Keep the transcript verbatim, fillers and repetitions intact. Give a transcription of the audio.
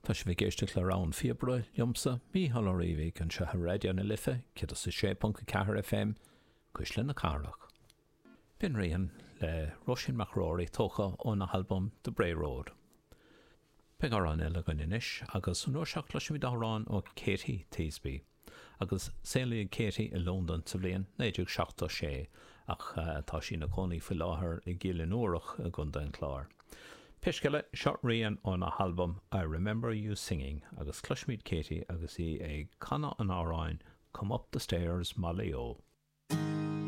Tá sibh ag éisteacht le Rogha an Phíobaire liomsa Mícheál Ó Riabhaigh anseo ar Raidió na Life céad a sé ponc a ceathair FM Cuisle na Cathrach. B'in Rian le Róisín McGrory tógtha óna halbam The Bray Road. Beidh amhrán eile againn anois agus an uair seo cloisfimid amhrán ó Katie Teasby. agus saolaíodh Katie i Londain sa bhliain naoi déag seachtó sé ach tá sí ina cónaí faoi láthair i gCill Fhionnúrach i gContae an Chláir. Pé scéal é seo Rian óna halbam I Remember You Singing agus cloisfimid Katie agus í ag canadh an amhráin Come Up the Stairs Molly O.